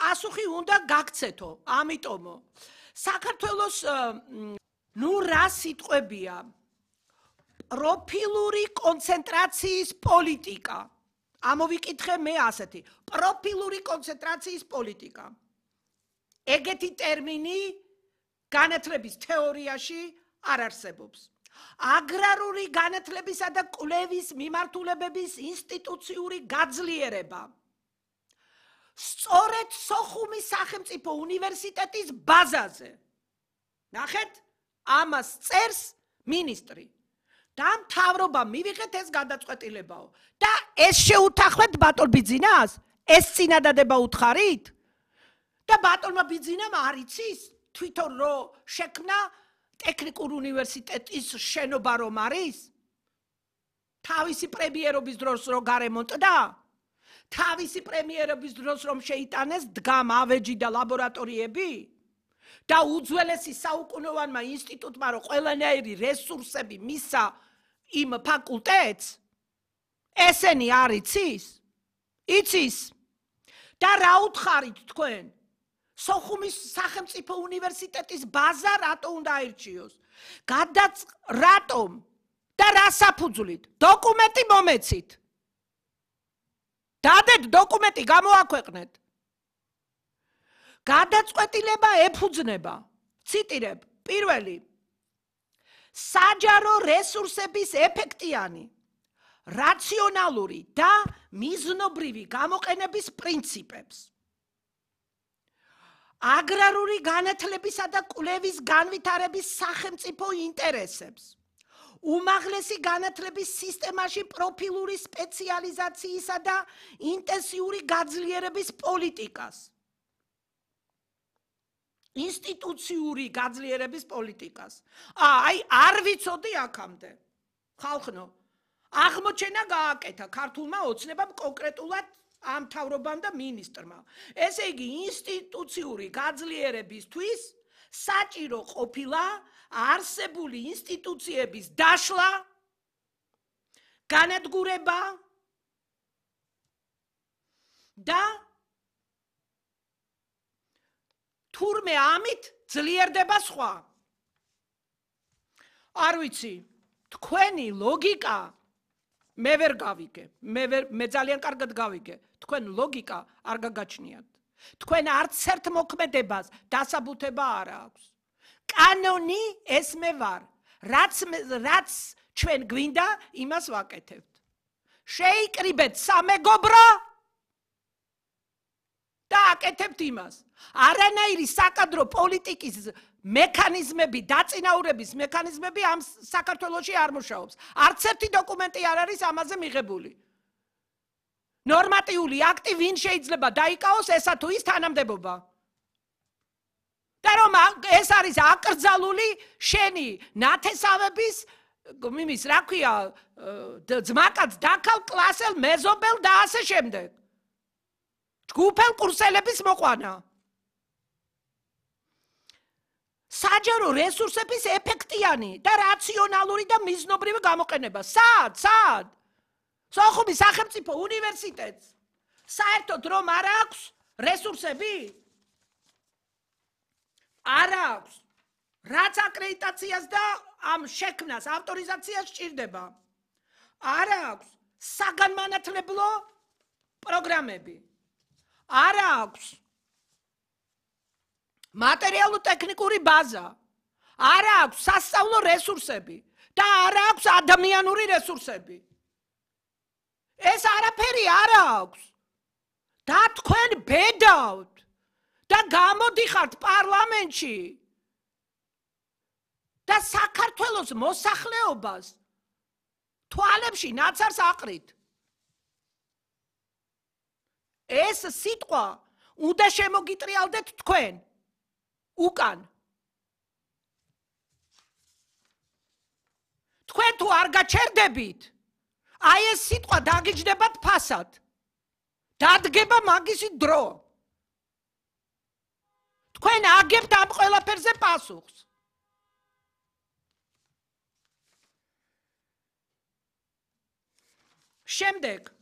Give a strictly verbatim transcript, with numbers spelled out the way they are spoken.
პასუხი უნდა გაქცეთო, ამიტომო. საქართველოს ნუ რა სიტყვებია? პროფილური კონცენტრაციის პოლიტიკა. ამოვიკითხე მე ასეთი. პროფილური კონცენტრაციის პოლიტიკა. ეგეთი ტერმინი განათლების თეორიაში არ არსებობს. აგრარული განათლებისა და კვლევის მიმართულებების ინსტიტუციური გაძლიერება. სწორედ სოხუმის სახელმწიფო უნივერსიტეტის ბაზაზე. ნახეთ, ამას წერს მინისტრი. და მთავრობა მივიღეთ ეს გადაწყვეტილებაო. და ეს შეუთანხმეთ ბატონ ბიძინას? ეს წინადადება უთხარით? და ბატონმა ბიძინამ არ იცის თვითონ რომ შექმნა ტექნიკურ უნივერსიტეტის შენობა რომ არის? თავისი პრემიერობის დროს რომ გარემონტდა? თავისი პრემიერობის დროს რომ შეიტანეს დგამ ავეჯი და ლაბორატორიები? და უძველესი საუკუნოვანმა ინსტიტუტმა რომ ყველანაირი რესურსები მისცა იმ ფაკულტეტს? ესენი არ იცის? იცის? და რა უთხარით თქვენ? სოხუმის სახელმწიფო უნივერსიტეტის ბაზა რატო უნდა აირჩიოს? გადაც რატომ? და რა საფუძვლით? დოკუმენტი მომეცით. დადეთ დოკუმენტი გამოაქვეყნეთ. გადაწყვეტილება ეფუძნება. ციტირებ, პირველი. საჯარო რესურსების ეფექტიანი, რაციონალური და მიზნობრივი გამოყენების პრინციპებს. აგრარული განათლებისა და კვლევის განვითარების სახელმწიფო ინტერესებს. უმაღლესი განათლების სისტემაში პროფილური სპეციალიზაციისა და ინტენსიური გაძლიერების პოლიტიკას. ინსტიტუციური გაძლიერების პოლიტიკას. აი, არ ვიცოდი აქამდე. ხალხნო, აღმოჩენა გააკეთა ქართულმა ოცნებამ კონკრეტულად ამ მთავრობამ და მინისტრმა. ესე იგი, ინსტიტუციური გაძლიერებისთვის საჭირო ყოფილა არსებული ინსტიტუციების დაშლა, განადგურება და თურმე ამით ძლიერდება სხვა. არ ვიცი, თქვენი ლოგიკა მე ვერ გავიგე, მე ვერ მე ძალიან კარგად გავიგე. თქვენ ლოგიკა არ გაგაჩნიათ. თქვენ არც ერთ მოქმედებას დასაბუთება არ აქვს. კანონი ეს მე ვარ. რაც რაც ჩვენ გვინდა, იმას ვაკეთებთ. შეიკრიბეთ სამეგობრო და აკეთებთ იმას. არანაირი საკადრო პოლიტიკის მექანიზმები, დაწინაურების მექანიზმები ამ საქართველოში არ მუშაობს. არც ერთი დოკუმენტი არ არის ამაზე მიღებული. ნორმატიული აქტი ვინ შეიძლება დაიკავოს ესა თუ ის თანამდებობა. და რომ ეს არის აკრძალული შენი ნათესავების იმის რა ქვია ძმაკაც დაქალ კლასელ მეზობელ და ასე შემდეგ. ჯგუფელ კურსელების მოყვანა. საჯარო რესურსების ეფექტიანი და რაციონალური და მიზნობრივი გამოყენება. სად? სად? სოხუმის სახელმწიფო უნივერსიტეტს საერთოდ რომ არ აქვს რესურსები? არ აქვს. რაც აკრედიტაციას და ამ შექმნას ავტორიზაციას სჭირდება. არ აქვს საგანმანათლებლო პროგრამები. არ აქვს მატერიალურ-ტექნიკური ბაზა. არ აქვს სასწავლო რესურსები და არ აქვს ადამიანური რესურსები. ეს არაფერი არ აქვს. და თქვენ ბედავთ და გამოდიხართ პარლამენტში და საქართველოს მოსახლეობას თვალებში ნაცარს აყრით. ეს სიტყვა უნდა შემოგიტრიალდეთ თქვენ უკან. თქვენ თუ არ გაჩერდებით, აი ეს სიტყვა დაგიჯდებათ ფასად. დადგება მაგისი დრო. თქვენ აგებთ ამ ყველაფერზე პასუხს. შემდეგ